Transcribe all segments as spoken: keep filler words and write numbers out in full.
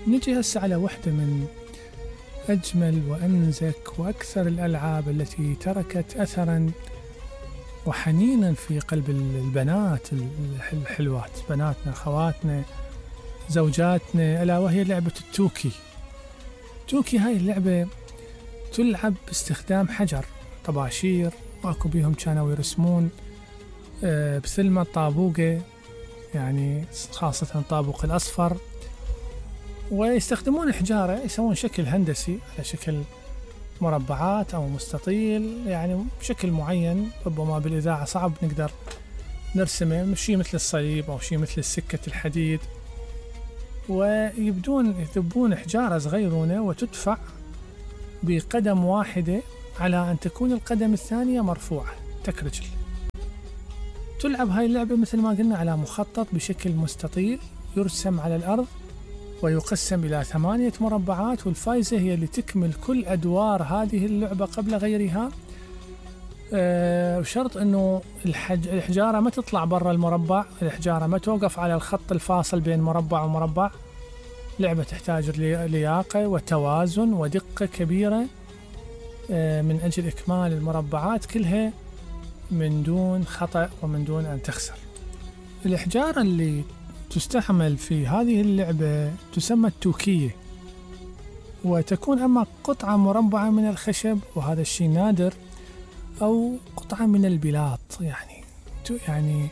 نجي هسه على واحدة من أجمل وأنزك وأكثر الألعاب التي تركت أثراً وحنيناً في قلب البنات الحلوات، بناتنا، خواتنا، زوجاتنا، ألا وهي لعبة التوكي. التوكي هاي اللعبة تلعب باستخدام حجر، طباشير، واكو بيهم كانوا يرسمون بثلمة طابوقة، يعني خاصة الطابوق الأصفر، ويستخدمون حجارة، يسوون شكل هندسي على شكل مربعات أو مستطيل، يعني بشكل معين ربما بالإذاعة صعب نقدر نرسمه، شيء مثل الصليب أو شيء مثل السكة الحديد، ويبدون يذبون حجارة صغيرونة وتدفع بقدم واحدة على أن تكون القدم الثانية مرفوعة تكرجل. تلعب هاي اللعبة مثل ما قلنا على مخطط بشكل مستطيل يرسم على الأرض ويقسم إلى ثمانية مربعات، والفائزة هي اللي تكمل كل أدوار هذه اللعبة قبل غيرها، أه بشرط أنه الحج... الحجارة ما تطلع برا المربع، الحجارة ما توقف على الخط الفاصل بين مربع ومربع. لعبة تحتاج لياقة وتوازن ودقة كبيرة أه من أجل إكمال المربعات كلها من دون خطأ ومن دون أن تخسر. الحجارة اللي تستعمل في هذه اللعبة تسمى التوكية، وتكون أما قطعة مربعة من الخشب، وهذا الشيء نادر، أو قطعة من البلاط، يعني يعني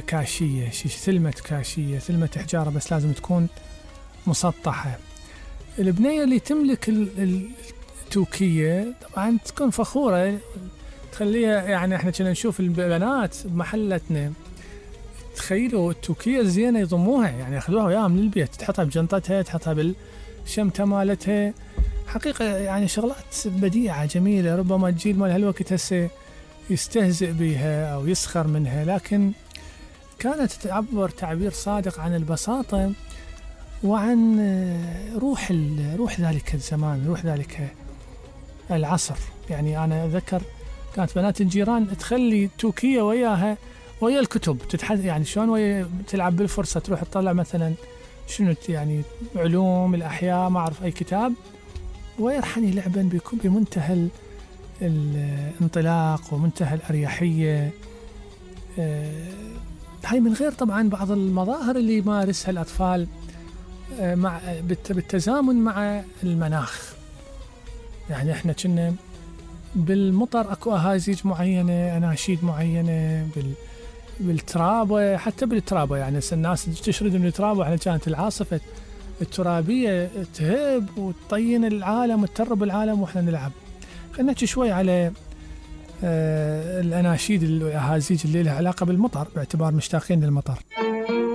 كاشية، ثلمة كاشية، ثلمة حجارة، بس لازم تكون مسطحة. البنية اللي تملك التوكية طبعا تكون فخورة، تخليها، يعني احنا كنا نشوف البنات بمحلتنا تخيلوا التوكية الزينة يضموها، يعني ياخذوها وياها من البيت، تحطها بجنطتها، تحطها بالشمتة مالتها. حقيقة يعني شغلات بديعة جميلة، ربما الجيل مال هالوقت هسه يستهزئ بها أو يسخر منها، لكن كانت تعبر تعبير صادق عن البساطة وعن روح روح ذلك الزمان، روح ذلك العصر. يعني أنا أذكر كانت بنات الجيران تخلي توكية وياها ويا الكتب تتحدث، يعني شلون ويا تلعب بالفرصة، تروح تطلع مثلا شنو يعني علوم الأحياء، ما أعرف أي كتاب، ويرحني لعبا بيكون بمنتهى الانطلاق ومنتهى الأريحية. هاي من غير طبعا بعض المظاهر اللي يمارسها الأطفال مع بالتزامن مع المناخ. يعني احنا كنا بالمطر اكو اهازيج معينة، اناشيد معينة، بال بالترابة، حتى بالترابة يعني الناس تشرد من الترابة، احنا كانت العاصفة الترابية تهب وتطين العالم وتترب العالم واحنا نلعب. خلينا نحكي شوي على آه الاناشيد الاهازيج اللي لها علاقة بالمطر، باعتبار مشتاقين للمطر.